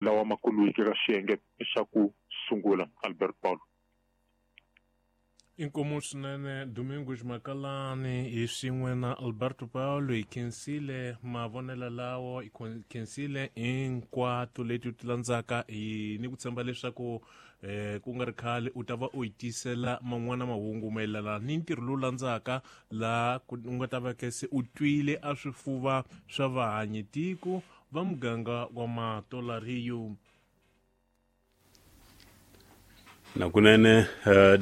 Lawa ma kumiweke ka xiyenge xa ku sungula. Albert Paulo. Inkomu swinene Domingos Makalani hi swin'we na Alberto Paulo hi khensile mavonelo lawo hi khensile hinkwato leti ti landzaka hi ni ku tshemba leswaku eh ku nga ri khale u ta va u hi tisela man'wana mahungu mayelana ni ntirho lowu landzaka laha u nga ta va ke se u twile a swifuva swa vahanyi tiko va muganga wa Matolariyo. Nakunene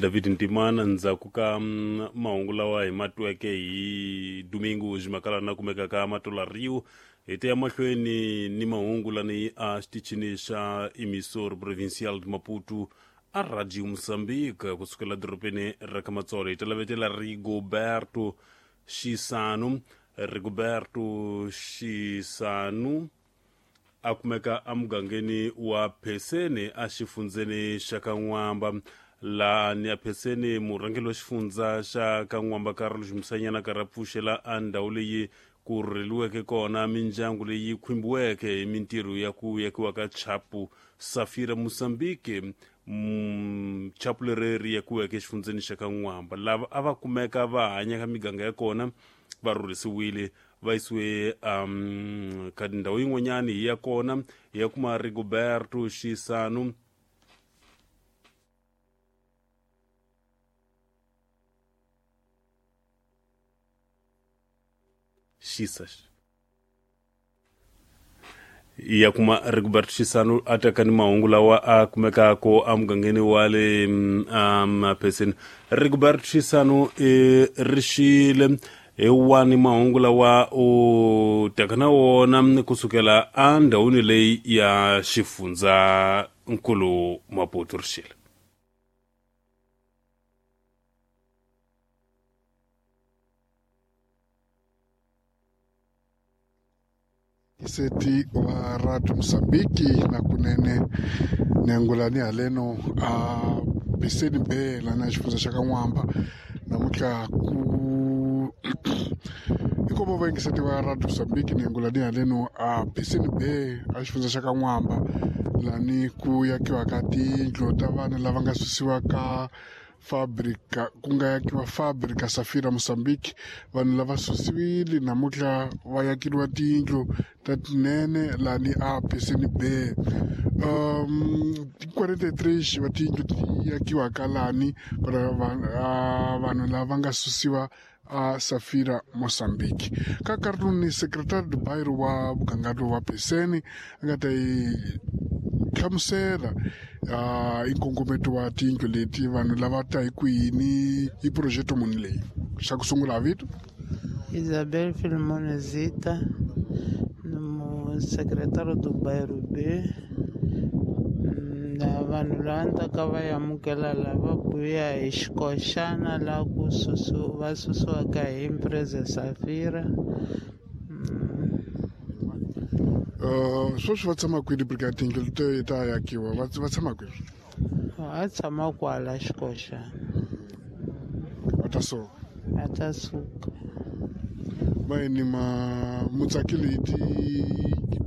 David Ntimana ndzhaku ka mahungu lawa hi ma tweke hi Domingos Makalana na kumeka ka Matolariyo hi ta ya mahlweni ni mahungu lani a xitichini xa Emissor Provincial de Maputo a Radio Mozambique kusukela dorobeni ra ka Matsolo hi ta lavetela Rigoberto Xisanu Rigoberto Xisanu a kumeka emugangeni wa Pheseni exifundzeni xa ka N'wamba laha ni ya Pheseni murhangeri wa xifundza xa ka N'wamba Carlos Musanyana karhi a pfuxela a ndhawu leyi ku rhurheliweke kona mindyangu leyi khumbiweke hi mintirho ya ku yakiwa ka chapu Safira Mozambique chapu leri ri yakiweke exifundzeni xa ka N'wamba lava a va kumeka va hanya ka miganga ya kona va rhurhisiwile va yisiwe ka ndhawu yin'wanyani hi ya kona hi ya kuma Rigoberto Xisanu Xisa ya kuma Rigobert Xisanu a teka ni mahungu lawa a kumekaka emugangeni wa le Pheseni. Rigobert Xisanu i rixile hi wani mahungu lawa u taka na wona kusukela endhawini leyi ya xifundza nkulu Maputo rixile. Iseti wa Radio Mozambique na kunene nengulani haleno a Piseni Bay lana xifundza xa ka N'wamba namuntlha ku inkomo vayingiseti wa Radio Mozambique nengulani haleno a Piseni Bay a xifundza xa ka N'wamba lani ku yakiwa ka tiyindlu ta vanhu lava nga susiwa ka fabrika ku nga yakiwa fabrika Safira Mozambique vanhu lava susiwile namuntlha va yakeriwa tiyindlu ta tinene lani a Piseni Bay 43 va tiyindlu ti yakiwaka lani vanhu lava nga susiwa a Safira Mozambique ka nkarhi lowu ni secretary do bairro wa muganga wa Piseni a nga ta yi hlamusela i nkongometo wa tiyindlu leti vanhu lava ta hi kwini i project muni leyi xa ku sungula vito Isabel Filimone Zita ni secretário do bairro B na vanhu lava ni taka va amukela lava buya hi xikoxana laha ku va susiwaka hi empresa Safira. Sweswi va tshama kwini brigade tiyindlu leti ta yakiwa va tshama kwini? Va tshama kwala xikoxana. Va ta suka? Va ta suka. Mayini ma mutsakile hi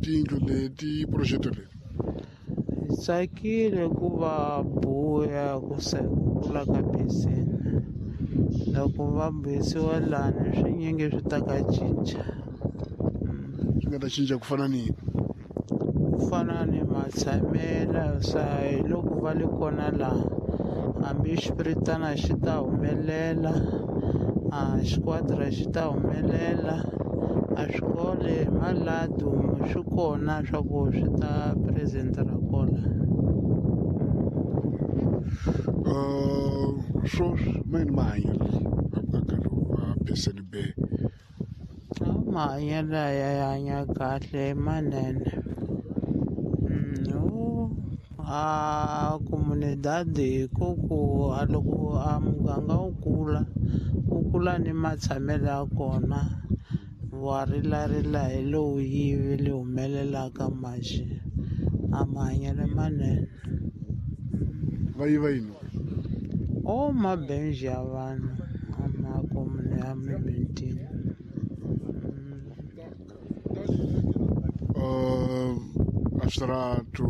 tiyindlu leti project leyi? Hi tsakile ku va buya ku se ku kula ka Piseni. Loko va buyisiwa lani swinyingi swi ta ka cinca. Swi nga ta cinca ku fana ni yini? Ku fana ni matshamelo sa hi loko va le kona laha hambi xipiritana xi ta humelela a xiquadra xi ta humelela a swikole maladu swi kona swa ku swi ta presentera kola. Sweswi mayini mahanyelo a muganga lowu wa Piseni Bay? Mahanyelo ya hanya kahle manene. A comunidade ko ku a loko a muganga wu kula wu kula ni matshamelo ya kona wa rilarila hi lowu yivi li humelelaka maxi a mahanyelo manene. Va yiva yini? O mabenji ya vanhu a ma komune ya mimitini. a switarato.